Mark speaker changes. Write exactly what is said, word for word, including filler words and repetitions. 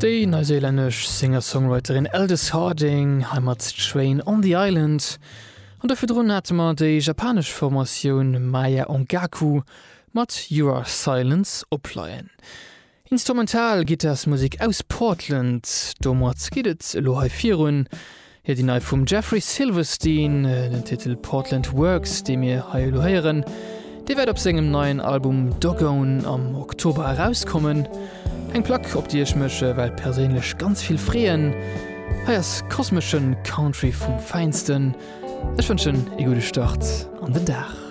Speaker 1: Déi neuseelännesch Singer-Songwriterin Aldous Harding hei mat Train on the Island. An do virdrun hate mer déi japanesch Formatioun Maya Ongaku mat You Are Silence opleien. Instrumental Gittarsmusek aus Portland, domat geet et elo hei virun. Jo, déi nei vum Jeffrey Silverstein, den Titel Portland Works, dee mir hei elo héieren, dee wäert op sengem neien Album Doggone am Oktober erauskommen. Eng Plack, op déi ech mech well perséinlech ganz vill freeën. Hei ass kosmesche Country vum Feinsten. Ech wënschen e gudde Start an den Dag.